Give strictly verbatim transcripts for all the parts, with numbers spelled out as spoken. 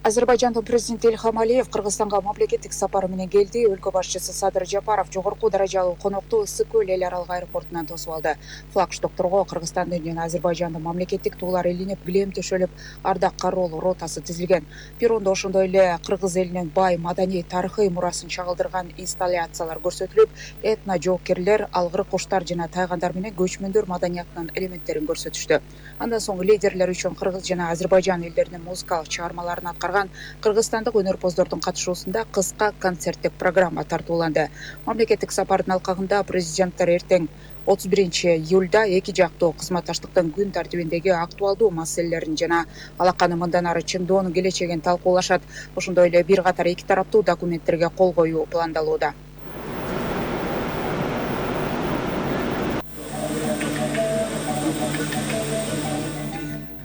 Азербайжандын президенти Ильхам Алиев Кыргызстанга мамлекеттик сапары менен келди. Өлкө башчысы Садыр Жапаров жогорку даражалуу конокту Ысык көл эл аралык аэропортунан тосуп алды. Флагштокторго Кыргызстандын жана Азербайжандын мамлекеттик туулары илинип, килем төшөлүп, ардак кароолуу ротасы тизилген. Перрондо ошондой эле кыргыз элинин бай маданий тарыхый мурасын чагылдырган инсталляциялар көрсөтүлүп, этно жоокерлер, алгыр куштар жана тайгандар менен көчмөндөр маданиятынын элементтерин көрсөтүштү. Андан соң лидерлер үчүн Кыргыз жана Азербайжан элдеринин музыкалык чыгармаларын аткарган кыргызстандык өнөрпоздордун катышуусунда кыска концерттик программа тартууланды. Мамлекеттик сапардын алкагында президенттер эртең отуз биринчи июлда эки жактуу кызматташтыктын күн тартибиндеги актуалдуу маселелерин жана алаканы мындан ары чыңдоонун келечегин талкуулашат. Ошондой эле бир катар эки тараптуу документтерге кол коюу пландалууда.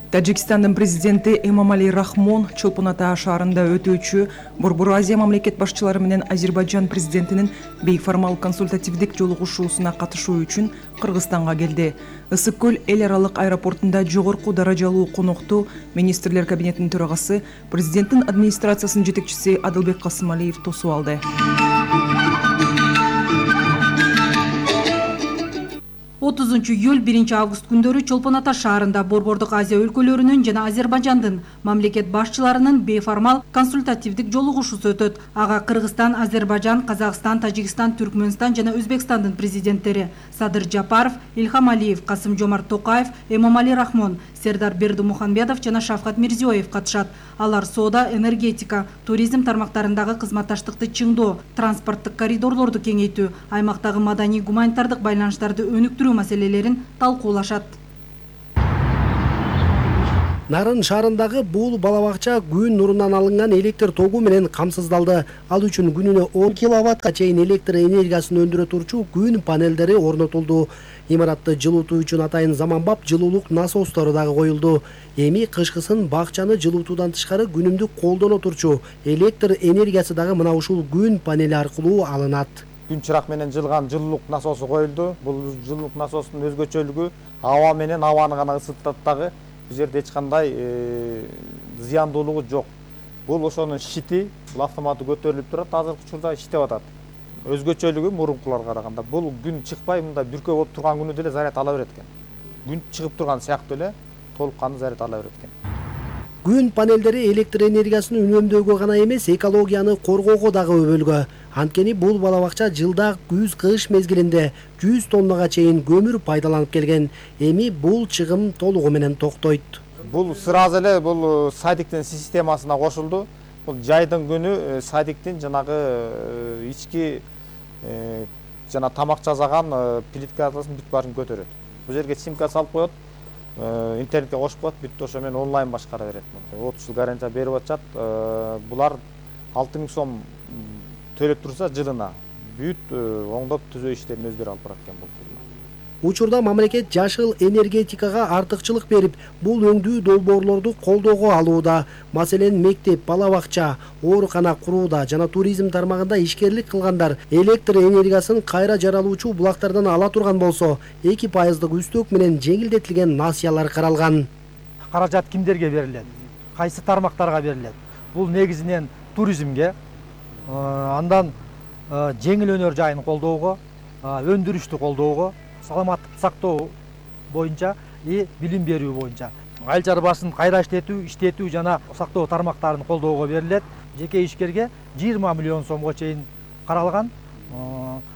Тажикстандын президенти Эмомали Рахмон Чолпон Ата шаарында өтүүчү Борбор Азия мамлекет башчылары менен Азербайжан президентинин бейформал консультативдик жолугушуусуна катышуу үчүн Кыргызстанга келди. Ысык көл эл аралык аэропортунда жогорку даражалуу конокту министрлер кабинетинин төрагасы, президенттин администрациясынын жетекчиси Адылбек Касымалиев тосуп алды. отузунчу июль биринчи август күндөрү Чолпон Ата шаарында Борбордук Азия өлкөлөрүнүн жана Азербайжандын мамлекет башчыларынын бейформал консультативдик жолугушуусу өтөт. Ага Кыргызстан, Азербайжан, Казакстан, Тажикстан, Түркмөнстан жана Өзбекстандын президенттери Садыр Жапаров, Ильхам Алиев, Касым-Жомарт Токаев, Эмомали Рахмон, Сердар Бердимухамедов жана Шавкат Мирзиёев катышат. Алар соода, энергетика, туризм тармактарындагы кызматташтыкты чыңдоо, транспорттук коридорлорду кеңейтүү, аймактагы маданий гуманитардык байланыштарды өнүктүрүү маселелерин талкуулашат. Нарын шаарындагы бул балабакча күн нурунан алынган электр тогу менен камсыздалды. Ал үчүн күнүнө он киловаттка чейин электр энергиясын өндүрө турчу күн панелдери орнотулду. Имаратты жылуутуу үчүн атайын заманбап жылуулук насостору дагы коюлду. Эми кышкысын бакчаны жылуутуудан тышкары күнүмдүк колдоно турчу электр энергиясы дагы мына ушул күн панели аркылуу алынат. Күн чырак менен жылган жылуулук насосу коюлду. Бул жылуулук насосунун өзгөчөлүгү аба менен абаны гана ысытат дагы. Бул жерде эч кандай зыяндуулугу жок. Бул ошонун щити, бул автоматы көтөрүлүп турат, азыркы учурда иштеп атат. Өзгөчөлүгү мурункуларга караганда бул күн чыкпай мындай бүркөө болуп турган күнү деле заряд ала берет экен. Күн чыгып турган сыяктуу эле толук кандуу заряд ала берет экен. Күн панелдери электр энергиясын үнөмдөөгө гана эмес, экологияны коргоого дагы өбөлгө. Анткени бул балабакча жылда күз кыш мезгилинде жүз тоннага чейин көмүр пайдаланып келген. Эми бул чыгым толугу менен токтойт. Бул сразу эле бул садиктин системасына кошулду. Бул жайдын күнү садиктин жанагы ички жана тамак жасаган плиткасын бүт баарын көтөрөт. Бул жерге симка салып коет, интернетке кошуп коет, бүт ошо менен онлайн башкара берет. отуз жыл гарантия берип атышат. Булар алты миң сом төлөп турса жылына бүт оңдоп түзөө иштерин өздөрү алып барат экен бул. Учурда мамлекет жашыл энергетикага артыкчылык берип, бул өңдүү долбоорлорду колдоого алууда. Маселен, мектеп, балабакча, оорукана курууда жана туризм тармагында ишкерлик кылгандар электр энергиясын кайра жаралуучу булактардан ала турган болсо, эки пайыздык үстөк менен жеңилдетилген насыялар каралган. Каражат кимдерге берилет? Кайсы тармактарга берилет? Бул негизинен туризмге, андан жеңил өнөр жайын колдоого, өндүрүштү колдоого, саламаттыкты сактоо боюнча и билим берүү боюнча, айыл чарбасын кайра иштетүү, иштетүү жана сактоо тармактарын колдоого берилет. Жеке ишкерге жыйырма миллион сомго чейин каралган.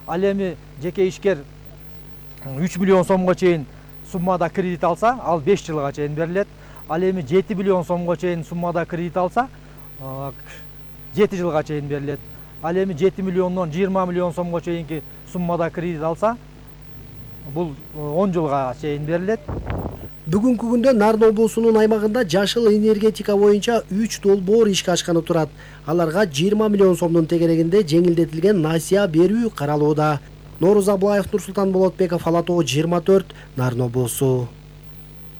Ал эми жеке ишкер үч миллион сомго чейин суммада кредит алса, ал беш жылга чейин берилет. Ал эми жети миллион сомго чейин суммада кредит алса, жети жылга чейин берилет. Ал эми жети миллиондон жыйырма миллион сомго чейинки суммада кредит алса, бул он жылга чейин берилет. Бүгүнкү күндө Нарын облусунун аймагында жашыл энергетика боюнча үч долбоор ишке ашканы турат. Аларга жыйырма миллион сомдун тегерегинде жеңилдетилген насыя берүү каралууда. Нооруз Аблаев, Нурсултан Болотбеков, Ала тоо жыйырма төрт, Нарын облусу.